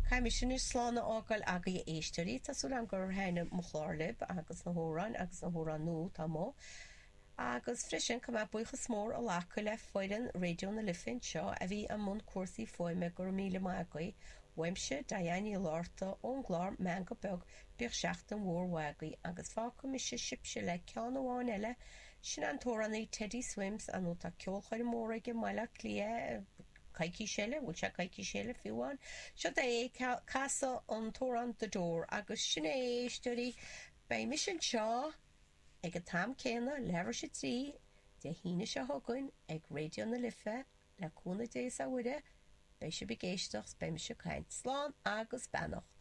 Caithfidh mise anois slán a fhágáil agaibh a éisteoirí. Tá súil agam gur thaitnigh mo chlár libh agus na hamhráin agus na hamhráin nua atá amuigh. Agus freisin caithfidh mé buíochas mór a ghlacadh le foireann Raidió na Life anseo a bhí i mbun cúrsaí fuaime, go raibh míle maith agaibh. Uaimse, Diane Ní Fhlatharta, ón gclár Meangadh Beag, bíodh seachtain mhór mhaith agaibh agus fágfaidh mise sibhse le ceann amháin eile, sin an t-amhránaí Teddy Swims, ar ndóigh tá ceolchoirm mhór aige i mBaile Átha Cliath coicís eile, bhfuil sé coicís eile fiú amháin? Seo é ag casadh an t-amhrán The Door agus sin é a éisteoirí, beidh mise anseo ag an t-am céanna, leathuair tar éis a 3, Dé hAoine seo chugainn ag Raidió na Life, le cúnamh Dé is a Mhuire, beidh sibh ag éisteacht 's beidh mise ag caint. Slán agus beannacht.